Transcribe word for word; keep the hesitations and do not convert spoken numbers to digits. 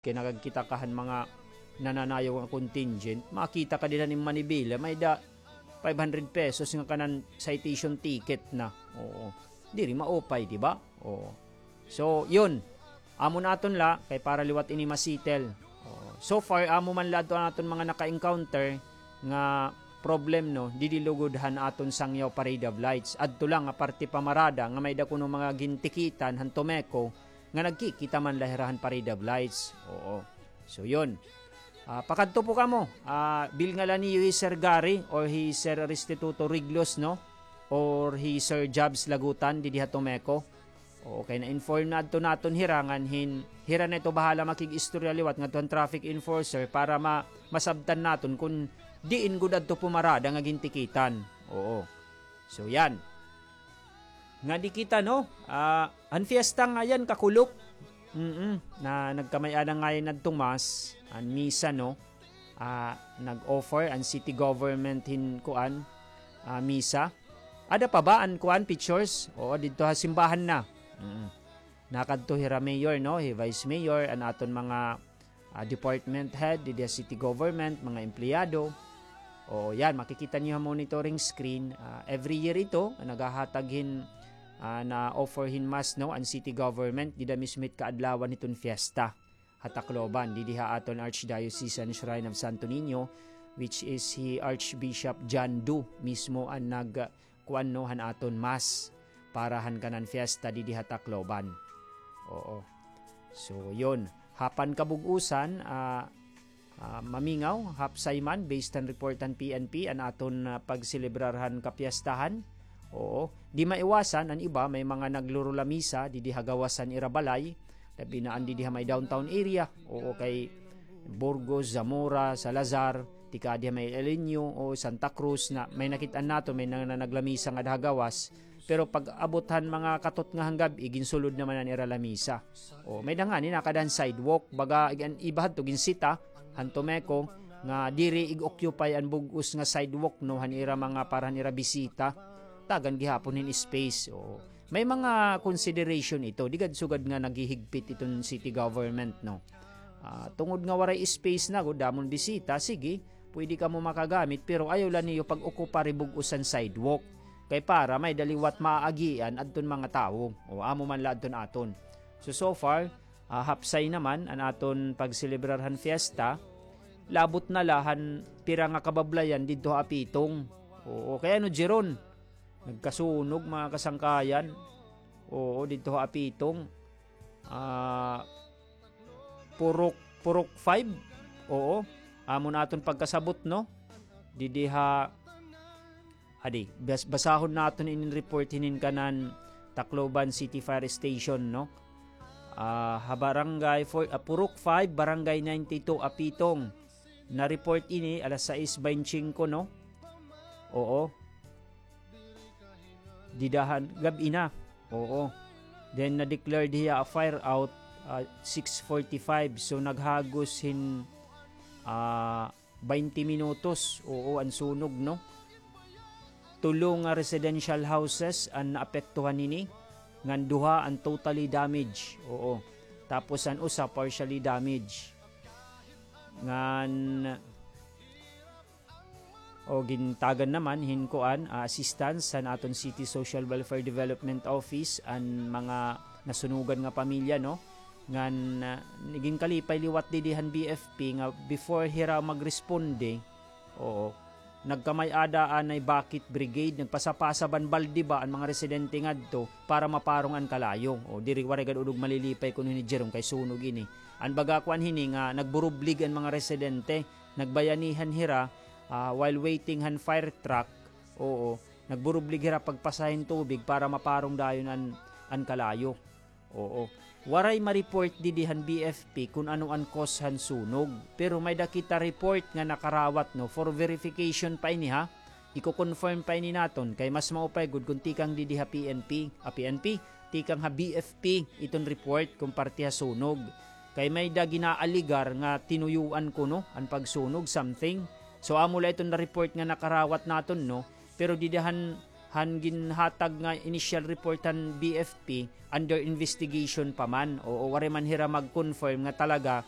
Kay nakagkita ka han mga nananayaw nga contingent, makita ka dida hin manibela, may-ada five hundred pesos nga kanan citation ticket na. Oo. Diri maupay, di ba? Oo. So, yun. Amo na aton la, kay para liwat ini ma-settle. Oo. So far, amo man la adto an aton mga naka-encounter nga problem, no, didi lugod han aton Sangyaw Parade of Lights. Adto la nga parte pa Marada nga may-ada kuno mga gintikitan han Tomeco, nga nagkikita man la hira han Parade of Lights. Oo. So, yun. Ah, pakadto po kamo. Ah, bilnga la niyo hi Sir Gary or hi Sir Restituto Riglos, no? Or hi Sir Jobs Lagutan, didi ha Tomeco. Oo, kay na-inform na adto naton hira ngan hin, hira na ito bahala makig-istorya liwat ngadto han traffic enforcer para ma-, masabtan naton kun diin gud adto pumarada nga gintikitan. Oo. So, yan. Ngadi kita, no? Ah, an fiesta ngayan, kakulop. Mm, na nagkamay-ada ngayan adto Mass, an misa, no? Ah, nag-offer an city government hin kuan, ah, misa. Ada pa ba an kuan, pictures? Oo, didto ha simbahan na. Mm. Nakadto hira mayor, no? Hi vice mayor, an aton mga ah, department head, didi ha city government, mga empleyado. O, yan, makikita niyo ha monitoring screen. Ah, every year ito, naghahatag hin, ah, na-offer hin mass, no, an city government, dida mismo hit kaadlawan hiton fiesta ha Tacloban, didi ha aton Archdiocesan Shrine of Santo Niño, which is hi Archbishop John Doe mismo an nag-, kuan, no, han aton mass para han kanan fiesta didi ha Tacloban. Oo. So, yun. Hapan kabug-usan, ah, ah, mamingaw, hapsay man, based han report han P N P, an aton, ah, pagselebrar han kapiestahan. Oo. Di maiwasan, an iba, may mga naglululamisa, didi ha gawas han ira balay, labi na an didi ha may downtown area. Oo, kay Burgos, Zamora, Salazar, tikadi ha may El Niño o Santa Cruz na may nakit-an naton, may nang-, na naglamisa ngada ha gawas. Pero pag-abot han mga katot nga han gab-i, ginsulod naman an ira lamisa. O, may-ada ngani nakada han sidewalk, baga, ig-, an iba hadto ginsita han Tomeco nga diri ig-occupy an bug-os nga sidewalk, no, han ira mga, para han ira bisita. Tagan gihapon hin space. O, may mga consideration ito. Di gad sugad nga naghihigpit iton city government, no. Ah, tungod nga waray space na gud, damo hin bisita, sige, pwede kamo makagamit, pero ayaw la niyo pag-okupar hi bug-os an sidewalk. Kay para may-ada liwat maaagian adton mga tawo. O, amo man la adton aton. So, so far, ah, hapsay naman an aton pagselebrar han fiesta. Labot na la han pira nga kabablayan didto ha Apitong. Oo, kay ano, Jeron? Nagkasunog, mga kasangkayan. Oo, didto ha Apitong. Ah, Purok, Purok five. Oo. Amo na aton pagkasabot, no? Didi ha, adi, bas-, basahon naton inin report hinin kanan Tacloban City Fire Station, no? Ah, ha barangay four, ah, Purok five, Barangay ninety-two, Apitong. Na-report ini alas sais baynte singko, no? Oo. Dida han gab-i na. Oo. Then, na-declared hiya a fire out, ah, six forty-five. So, naghagos hin, ah, baynte minutos. Oo, an sunog, no? Tulo nga residential houses an naapektuhan hini, ngan duha an totally damage. Oo. Tapos an usa partially damage. Ngan, o, gintagan naman hin kuan, ah, assistance han aton City Social Welfare Development Office an mga nasunugan nga pamilya, no? Ngan, ah, ginkalipay liwat didi han B F P nga before hira magresponde, oo, nagkamay-ada anay bucket brigade, nagpasapasab an balde ba an mga residente ngadto para maparong an kalayo. O, diri waray gad udog malilipay kuno hini, Jerome, kay sunog ini. An baga kuan hini nga nagburublig an mga residente, nagbayanihan hira, ah, while waiting han fire truck. Oo, nagburublig hira pagpasa hin tubig para maparong dayon an, an kalayo. Oo. Waray ma-report didi han B F P kun ano an cause han sunog. Pero may-ada kita report nga nakarawat, no, for verification pa ini, ha. Iko-confirm pa ini naton kay mas maupay gud kun tikang didi ha P N P, ah, P N P, tikang ha B F P iton report kun parte ha sunog. Kay may-ada ginaalegar nga tinuyuan kuno an pagsunog, something. So, amo la iton na-report nga nakarawat naton, no? Pero dida han, han ginhatag nga initial report han B F P, under investigation pa man. Oo, waray man hira mag-confirm nga talaga